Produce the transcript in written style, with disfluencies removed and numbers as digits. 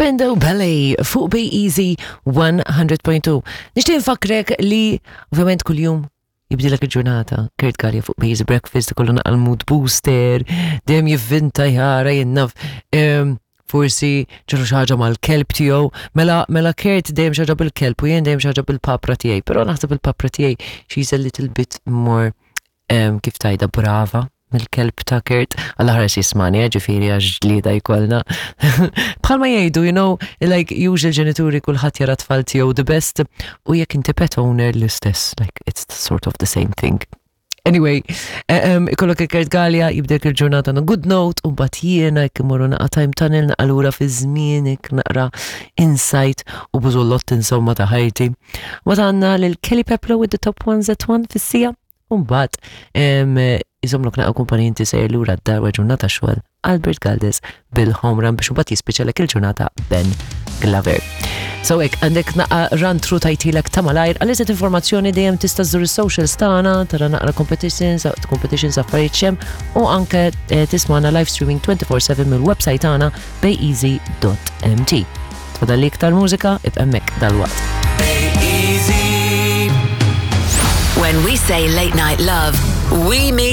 Spendo Ballet fuq Bay Easy 100.2. Nixtieq nfakkrek li ovvjament kuljum jibdilek il-ġurnata. Kurt Gallia fuq Bay Easy Breakfast ikollu naqal mood booster, dejjem jivvinta jara jinnaf. Forsi ġru xi ħaġa mal-kelb tiegħu. Mela mela Kurt dejjem xi ħaġa bil-kelb u jien dejjem xi ħaġa bil-papra tiegħi, però naħseb il-papra tiegħi she's a little bit more kif tajda brava mill-kelb ta' Kurt, għalla ħares jismani, eh, ġifiri għax ġlida jkollna. Bħalma jgħidu, you know, like usual ġenituri kulħadd jara tfal tiegħu the best u jekk inti pet owner l-istess, like it's sort of the same thing. Anyway, eh, ikollok il-Kurt Gallia, jibdek il-ġurnata on a good note, u mbagħad jiena jekk imorru naqa' time tunnel naqalura fi żmienek naqra insight u bużullott insomma ta' ħajti. Mbagħad għandna lil Kelly Peplo with the top ones at one fis-sija. U mbagħad iżomlok naqa' kumpanija inti sejjer lura d-dar wara ġurnata xogħol Albert Galdes bil-home run biex imbagħad jispiċċalek il-ġurnata Ben Glover. So hekk għandek naqa' run through tajtilek ta' malajr għal iżjed informazzjoni dejjem tista' żżur is-socials tagħna, tara naqra competitions, competitions affarijiet xem u anke eh, tismana live streaming 24/7 mill-website tagħna bayeasy.mt. Tfadal iktar mużika, ibqa' hemmhekk dalwaqt. When we say late night love, we mean